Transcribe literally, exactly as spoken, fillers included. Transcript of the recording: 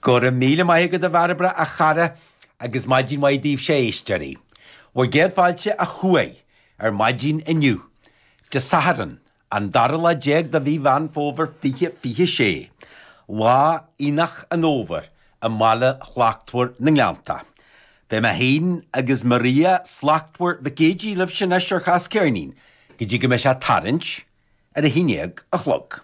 Go raibh míle maith agat a Bhairbre a chara agus maidin mhaith daoibhse a éisteoirí. Bhur gcéad fáilte a chuaigh ar maidin inniu, Dé Sathairn, an dara lá déag de mhí Mheán Fómhair fiche fiche sé, lá Aonach an Fhómhair i mBaile Shlachtmhar na nGleannta. Beidh mé féin agus Maria Slachtmhar Mhic Géidigh libhse anois ar Chas Ceirnín go dtí go mbeidh sé tarraingt ar a haon déag a chlog.